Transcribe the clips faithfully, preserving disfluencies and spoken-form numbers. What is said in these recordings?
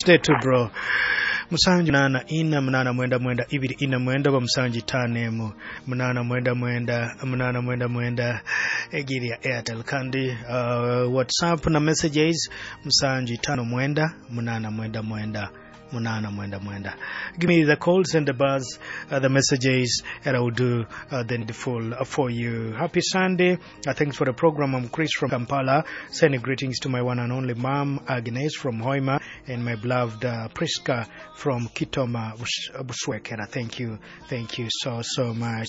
Stay too bro. Musanju munana ina munana mwenda mwenda ibiri ina mwenda oba musanju itaano emu munana mwenda mwenda munana mwenda mwenda egiri ya Airtel kandi uh, WhatsApp na messages musanju itaano mwenda munana mwenda mwenda munana mwenda mwenda. Give me the calls and the buzz, uh, the messages, and I will do uh, the needful for you. Happy Sunday. Uh, thanks for the program. I'm Chris from Kampala. Sending greetings to my one and only mom, Agnes from Hoima, and my beloved uh, Priska from Kitoma, Bus- Buswekera. Thank you. Thank you so, so much.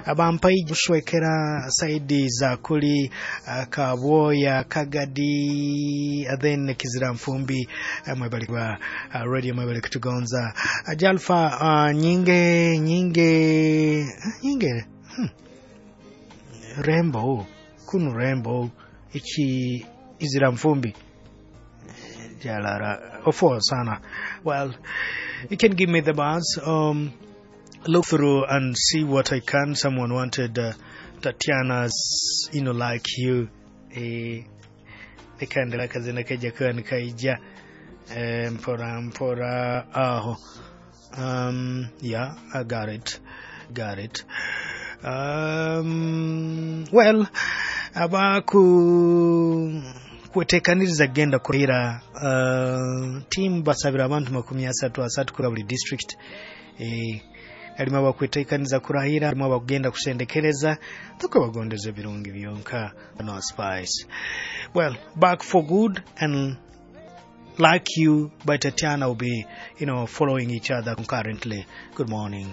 Abampai Buswekera, Saidi Zakuli, uh, Kaboya, Kagadi, uh, then Kizira Mfumbi, uh, mwebale kwa uh, radio mwebale kutugonza. Uh, Jalfa, uh, nyinge, nyinge, nyinge, hmm. Rembo, kunu Rembo, ichi Izira Mfumbi. Jalara, ofo sana. Well, you can give me the buzz. Um, look through and see what I can. Someone wanted uh, Tatiana's, you know, like you. Eh, nikaendelea kazi nikaja kwa nikaija eh, mpora mpora aho. Um, yeah, I got it. Got it. Um, well, abaku kwetekaniriza genda kurahira uh, timu basabira abantu makumi asatu asatu kura buli district eh, halimu abakwetekaniza kurahira halimu abakugenda kusendekereza tukabagondeza ebirungi byonka no spice well back for good and like you by Tatiana will be you know following each other concurrently good morning